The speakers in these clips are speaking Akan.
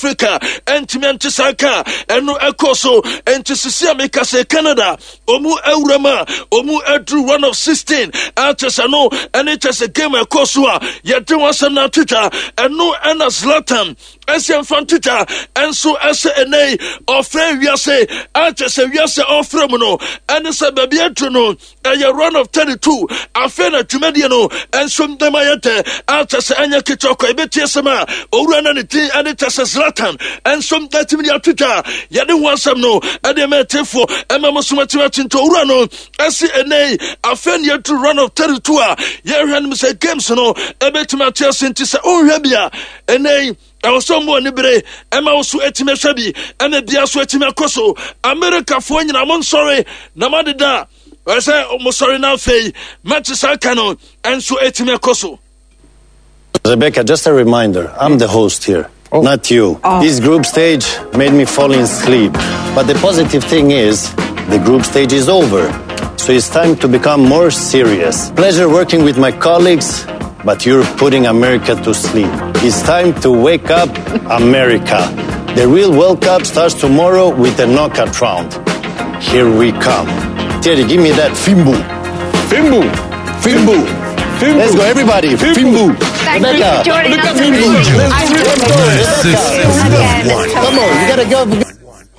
Africa ɛntumi ɛnte saa ka ɛno ɛkɔ so. Ɛnti sisi a meka sɛ Canada ɔmu awura mu a ɔmu aduru 1 of 16 akyɛ sɛ no ɛne kyɛ sɛ game ɛkɔ so a yɛde ho asɛm no atwitwa. Ɛno ɛna Zlatan ɛsɛ mfa ntwitwa ɛnso ɛsɛ ɛnɛ ɔfrɛ wiase akyɛ sɛ wiase ɔfrɛ mu no ɛne sɛ baabi aduru no ɛyɛ round of 32. Afei na dwumadie no nso ndɛm ayɛ dɛ akyɛ sɛ ɛnyɛ ketewa kɔ. Ɛbɛtie sɛm a owura no ne din ɛne kyɛ sɛ Zlatan nso atumi de ato dwa. Yɛde ho asɛm no ɛde ma ɛtefoɔ ɛma mo so atumi akyi. Nti owura no ɛsi ɛnɛ afei ne yɛduru round of 32 a yɛhwɛ no sɛ games no ɛbɛtumi ate ase. Nti sɛ wonhwɛ bi a, ɛnɛ ɛwɔ sɛ ɔmo ani bere ɛma wo so atumi ahwɛ bi ɛna bia so atumi akɔ so. Amerikafoɔ nyina mo nsɔre na moadeda ɛsɛ mo sɔre no afei mɛte saa ka no ɛnso atumi akɔ so. Rebecca, just a reminder, I'm the host here, not you. Oh. This group stage made me fall in sleep. But the positive thing is, the group stage is over. So it's time to become more serious. Pleasure working with my colleagues, but you're putting America to sleep. It's time to wake up, America. The real World Cup starts tomorrow with the knockout round. Here we come. Thierry, give me that Fimbu. Fimbu. Fimbu. Fimbu. Let's go, everybody. Fimbu. Fimbu. Thank you Rebecca. for joining Look us. at Fimbu. I'm Rebecca. Again, Come on, you gotta go.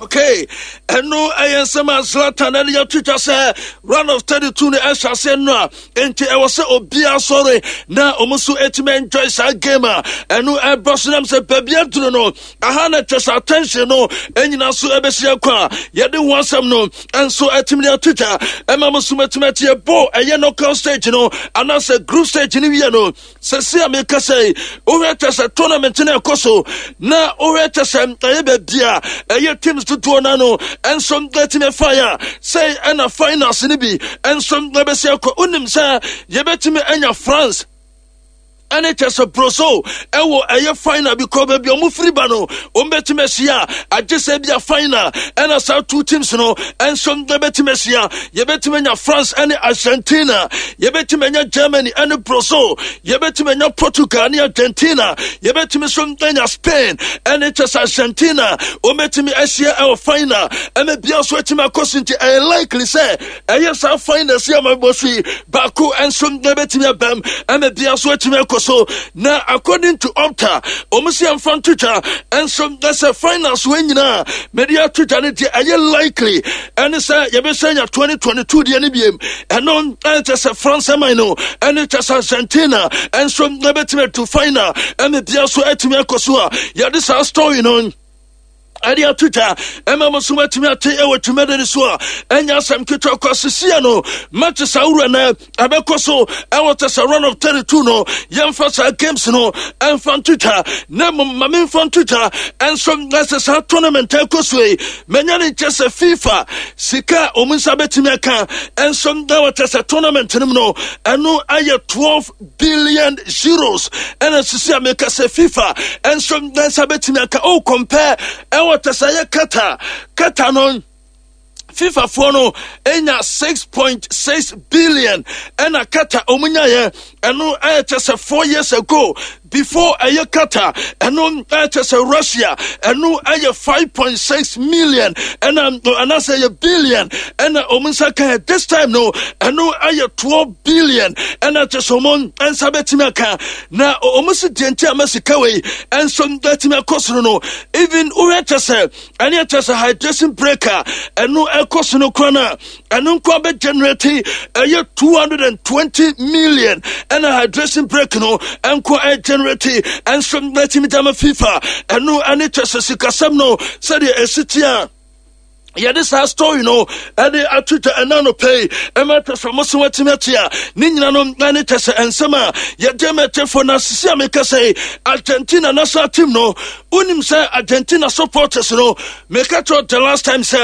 Okay, ɛno ɛyɛ nsɛm a Zlatan ɛde yɛtwitwa sɛ round of 32 no ɛhyɛ aseɛ no a, enti ɛwɔ sɛ obiara sɔre na ɔmo nso ɛtumi enjoy saa game a ɛno ɛbɔ so. Nam sɛ baabi aduru no aha na kyɛ sɛ attention no ɛnyina so ɛbɛsi akɔ a yɛde ho asɛm no ɛnso ɛtumi de atwitwa ɛma mo so mɛtumi atie bɔ ɛyɛ knockout stage no anaasɛ group stage no wie no. Sɛsi a meka sɛ wohwɛ kyɛ sɛ tournament no ɛkɔ so na wohwɛ kyɛ sɛ ɛyɛ baabi a ɛyɛ teams dodoɔ no ano ɛnso ɛtumi ɛfae a sɛ ɛna finals no bi ɛnso ɛbɛsi akɔ. Wonim sɛ yɛbɛtumi anya France ɛne kyɛ sɛ Brazil ɛwɔ ɛyɛ final bi kɔ baabi a ɔmo firi ba no ɔmo bɛtumi ahyia, agye sɛ bi a final ɛna saa two teams no ɛnso ɛbɛtumi ahyia. Yɛbɛtumi anya France ɛne Argentina, yɛbɛtumi anya Germany ɛne Brazil, yɛbɛtumi anya Portugal ne Argentina, yɛbɛtumi nso anya Spain ɛne kyɛ sɛ Argentina ɔmo ahyia ɛwɔ final ɛna bia nso atumi akɔ so. Nti ɛyɛ likely sɛ ɛyɛ saa final si ama bɔ so yi baako nso ɛbɛtumi abam ɛna bia nso atumi akɔ so. Na according to Opta, ɔmo si ɛmfa ntotwa ɛnso ɛsɛ finals wɔ nyinaa mɛde atotwa no deɛ ɛyɛ likely ɛne sɛ yɛbɛsɛ nya 2022 deɛ no biem. Ɛno ɛnkyɛ sɛ France man no ɛne kyɛ sɛ Argentina ɛnso ɛbɛtumi atu final ɛna bia nso atumi akɔ so a yɛde saa story no ɛde ato dwa ɛma mo so matumi ate ɛwɔ dwumadi no so a ɛnyɛ asɛm ketewa kɔ. Sesia no match saa wura no ɛbɛkɔ so ɛwɔ tɛ sɛ round of 32 no, yɛmfa saa games no ɛmfa nto dwa na mmom ma memfa nto dwa ɛnso ɛsɛ saa tournament ɛkɔ so yi manya ne nkyɛ sɛ FIFA sika a ɔmu nsa bɛtumi aka ɛnso ɛwɔ tɛ sɛ tournament no mu no ɛno ayɛ €12 billion. Ɛna sisi a meka sɛ FIFA ɛnso nsa bɛtumi aka o compare ɛwɔ tɛ sɛ ɛyɛ Qatar. Qatar no FIFA foɔ no enya 6.6 billion ɛna Qatar ɔmo nyaeɛ. Ɛno ɛyɛ kyɛ sɛ 4 years ago before ɛyɛ Qatar. Ɛno ɛyɛ kyɛ sɛ Russia ɛno ɛyɛ 5.6 million ɛna anaasɛ ɛyɛ billion ɛna ɔmo nsa ka. This time no ɛno ɛyɛ 12 billion ɛna kyɛ sɛ ɔmo nsa bɛtumi aka. Na ɔmo si deɛ nti a ma sika wei ɛnso bɛtumi akɔ soro no, even wohwɛ kyɛ sɛ ɛne ɛkyɛ sɛ hydration break a ɛno ɛkɔ so no kora no a ɛno nko bɛ generate ɛyɛ 220 million ɛna hydration break no ɛnko ɛ generate ɛnso bɛtumi dama FIFA. Ɛno ɛne kyɛ sɛ sikasɛm no sɛdeɛ ɛsi tia yɛde saa story no ɛde ato dwa ɛna no pɛi ɛma kyɛ sɛ mo so watumi ate a ne nyina no ɛne kyɛ sɛ ɛnsɛm a yɛde ma ɛtɛfoɔ. No asisi a meka sɛ Argentina national team no, wonim sɛ Argentina supporters no meka kyerɛ the last time sɛ